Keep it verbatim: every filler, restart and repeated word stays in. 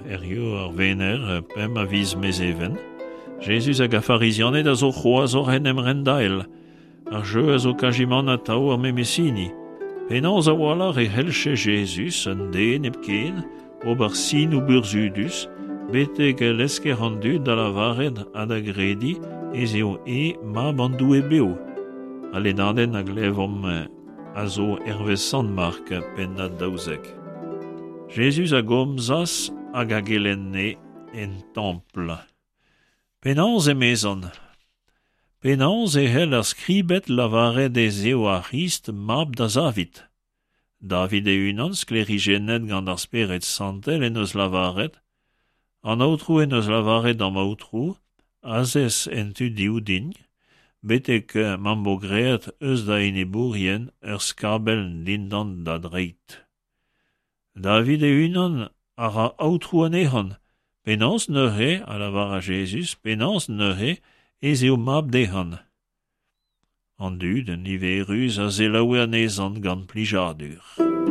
Hiziv ar Wener, pemp a viz Mezheven. Jezuz hag ar Farizianed a zo c'hoazh oc'h en em rendael. Ar jeu a zo kazimant atav ar memes hini. Penaos a-walc'h e c'hellje Jezuz, un den hepken, ober sinoù burzhudus, betek lesker an dud da lavaret ha da grediñ ez eo e mab an Doue bev. Al lennadenn a glevomp a zo hervez Sant Mark, pennad daouzek. Jezuz a gomzas hag a gelenne en templ. Penaos emezan? Penaos e c'hell ar skribed lavaret ez eo ar C'hrist mab da Zavid? David e-unan, sklêrijennet gant ar Spered Santel en deus lavaret: An Aotrou en deus lavaret d'am Aotrou, azez en tu dehoù din, betek ma'm bo graet eus da enebourien ur skabell dindan da dreid. David e-unan a ra Aotrou anezhan. Penaos neuze, a lavaras Jezuz, penaos neuze ez eo mab dezhan? An dud niverus a selaoue anezhan gant plijadur.